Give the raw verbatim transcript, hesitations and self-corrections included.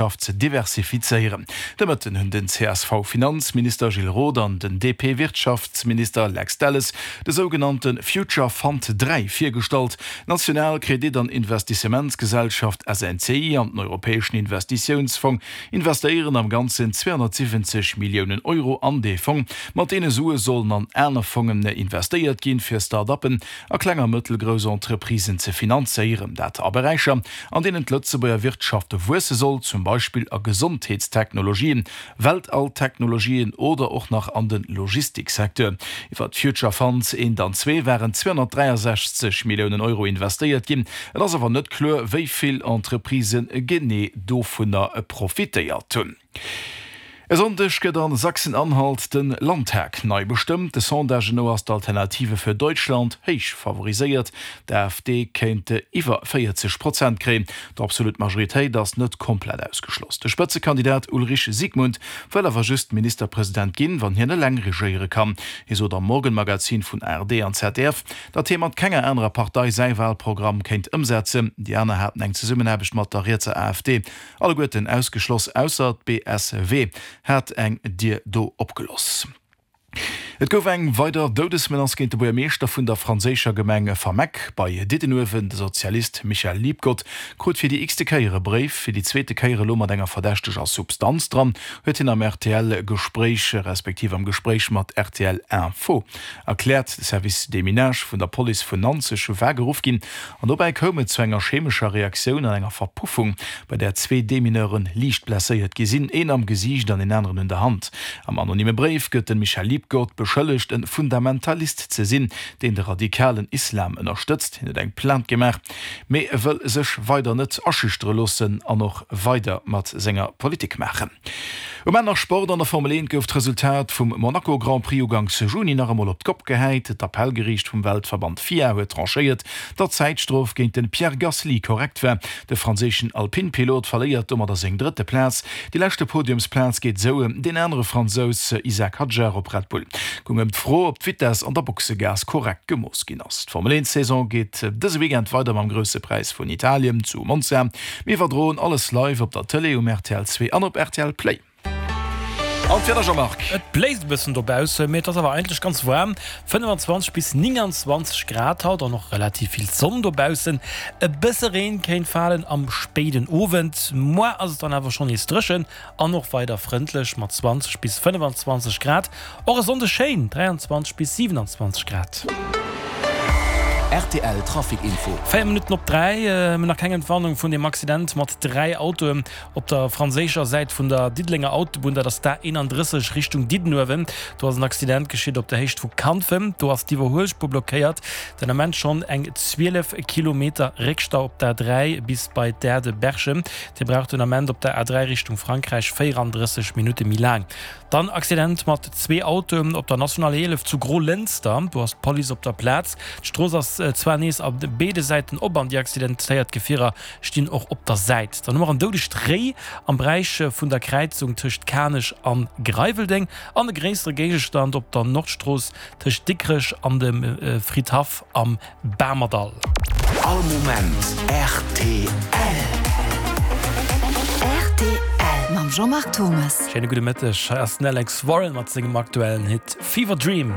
Wirtschaft ze diversifizéieren. De Mëtten hunn den C S V-Finanzminister Gilles Roth an den D P-Wirtschaftsminister Lex Delles de sougenannte Future Fund dräi virgestallt. D'national Kredit an Investissementsgesellschaft S N C I an den Europäeschen Investitiounsfong investéieren am Ganzen zweehonnertsiwwenzeg Milliounen Euro an dee Fong. Mat deene Sue sollen an aner Fongen investéiert ginn, fir Start-uppen a kleng a mëttelgrouss Entreprisen ze finanzéieren. Dat a Beräicher, an deenen d'Lëtzebuerger Wirtschaft wuesse soll, zum Beispill a Gesondheetstechnologien, Weltalltechnologien oder och nach an de Logistiksecteur. Iwwer d'Future Funds eent an zwee waren zweehonnertdräiasechzeg Milliounen Euro investéiert ginn. Et ass awer net kloer, wéi vill Entreprisë genee dovunner profitéiert hunn. E Sonndeg gëtt a Sachsen-Anhalt de Landtag nei bestëmmt. De Sondagen no ass d'Alternative für Deutschland héich favoriséiert. D'A F D kéint iwwer véierzeg Prozent kréien. D'absolut Majoritéit ass net komplett ausgeschloss. De Spëtzekandidat Ulrich Siegmund wëll awer just Ministerpresident ginn, wann hien eleng regéiere kann. Hie sot am Morgenmagazin vun A R D an Z D F, datt hie mat kenger anerer Partei säi Walprogramm kéint ëmsetzen. Déi aner haten eng Zesummenaarbecht mat der rietser A F D alleguerten ausgeschloss, ausser d'B S W hat eng Dier do opgelooss. Et gouf eng weider Doudesmenace géint de Buergermeeschter vun der franséischer Gemeng Fameck bei Diddenuewen. De Sozialist Michel Liebgott krut fir déi x-te Kéier e Bréif, fir déi zweete Kéier elo mat enger verdächteger Substanz dran, huet hien am R T L-Gespréich respektiv am Gespréich mat R T L Info erkläert. De Service Déminage vun der Police vun Nanzeg war geruff ginn an dobäi koum et zu enger chemescher Reaktioun an enger Verpuffung, bei där zwee Demineure liicht blesséiert gi sinn, een am Gesiicht an een aneren un der Hand. Am anonyme Bréif gëtt de Michel Liebgott beschëllegt, e Fundamentalist ze sinn, deen de radikalen Islam ënnerstëtzt. Hien huet eng Plainte gemaach, mee e wëll sech weider net aschüchtere loossen an och weider mat senger Politik maachen. Um Enn nach Sport. An der Formel eent gouf d'Resultat vum Monaco Grand Prix uganks Juni nach emol op d'Kopp gehäit. D'Appellgeriicht vum Weltverband F I A huet tranchéiert, datt d'Zäitstrof géint de Pierre Gasly korrekt war. De franséischen Alpine-Pilot verléiert domadder seng drëtte Plaz. Déi leschte Podiumsplaz geet esou un deen anere Fransous Isack Hadjar op Red Bull. Goung ëm d'Fro, ob d'Vitess an der Boxegaass korrekt gemooss ginn ass. D'Formel eent Saison geet dëse Weekend weider mam Grousse Präis vun Italien zu Monza. Mir iwwerdroen alles live op der Tëlee um R T L zwee an op R T L Play. An d'Wieder, Jean-Marc? Et bléist e bëssen dobaussen, mee et ass awer eigentlech ganz waarm, fënnefenzwanzeg bis nénganzwanzeg Grad haut an och relativ vill Sonn dobaussen. E bësse Reen kéint falen am spéiden Owend. Muer ass et dann awer schonn nees dréchen an och weider frëndlech mat zwanzeg bis fënnefenzwanzeg Grad. Och e Sonndeg schéin, dräianzwanzeg bis siwenanzwanzeg Grad. R T L Trafic Info. Véier Minutten op dräi, mir hunn nach keng Entwarnung vun deem Accident mat dräi Autoen op der franséischer Säit vun der Diddelenger Autobunn. Dat ass d'A eenandrësseg Richtung Diddenuewen. Do ass en Accident geschitt op der Héicht vu Kanfem. Do ass d'Iwwerhuelspuer blockéiert. Den Ament schonn eng zwielef Kilometer Réckstau op der A dräi bis bei d'Aire de Berchem. Dir braucht den Ament op der A dräi Richtung Frankräich véierandrësseg Minutte méi laang. Dann Accident mat zwee Autoen op der Nationale eelef zu Grolënster. Do ass d'Police op der Plaz. D'Strooss ass zwar nees op béide Säiten op an déi accidentéiert Gefierer stinn och op der Säit. Dann hu mer en doudegt Réi am Beräich vun der Kräizung tëscht Kanech an Greiweldeng an e gréissere Géigestand op der Nordstrooss tëscht Dikrech an dem Fridhaff am Bamerdall. All Moment R T L. R T L mam Jean-Marc Thomas. Schéine gudde Mëtteg, hei ass den Alex Warren mat sengem aktuellen Hit Fever Dream.